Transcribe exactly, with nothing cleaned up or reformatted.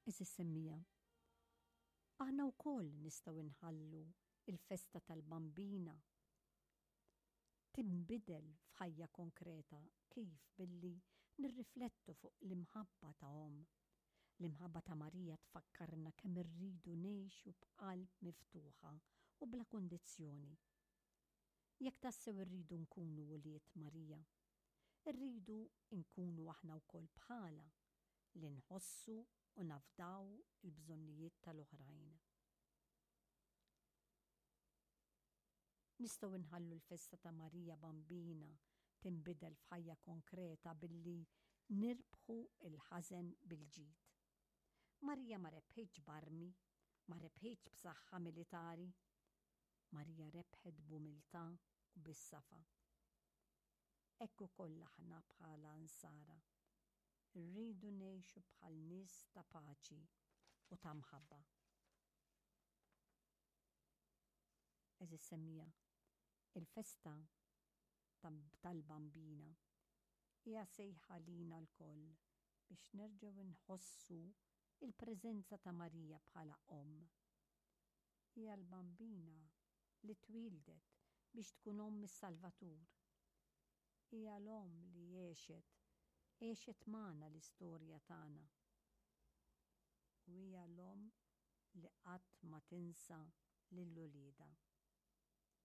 Għeżież semmiegħa, aħna wkoll nistgħu nħallu il-festa tal-Bambina tinbidel f'ħajja konkreta. Kif? Billi nirriflettu fuq l-imħabba ta' omm. L-imħabba ta' Marija tfakkarna kemm irridu ngħixu b'qalb miftuħa u bla kundizzjoni. Jekk tassew irridu nkunu wlied Marija, irridu nkunu aħna wkoll bħala li nħossu u nafdaw il-bżonnijiet tal-oħrajn. Nistgħu nħallu l-festa ta' Marija Bambina tinbidel f'ħajja konkreta billi nirbħu il-ħażen bil-ġid. Marija ma rebħitx b'armi, ma rebħitx b'saħħa militari. Marija rebħet b'umiltà u bis-safa. Hekk ukoll aħna bħala Nsara rridu ngħixu bħal nies ta' paċi u ta' mħabba. Għeżież semmiegħa, il-festa tal-Bambina hija sejħa lina lkoll biex nerġgħu nħossu il-preżenza ta' Marija bħala omm. Hija l-Bambina li twieldet biex tkun omm is-Salvatur. Hija l-omm li għexet, għexet magħna l-istorja tagħna. U hija l-omm li qatt ma tinsa lil uliedha.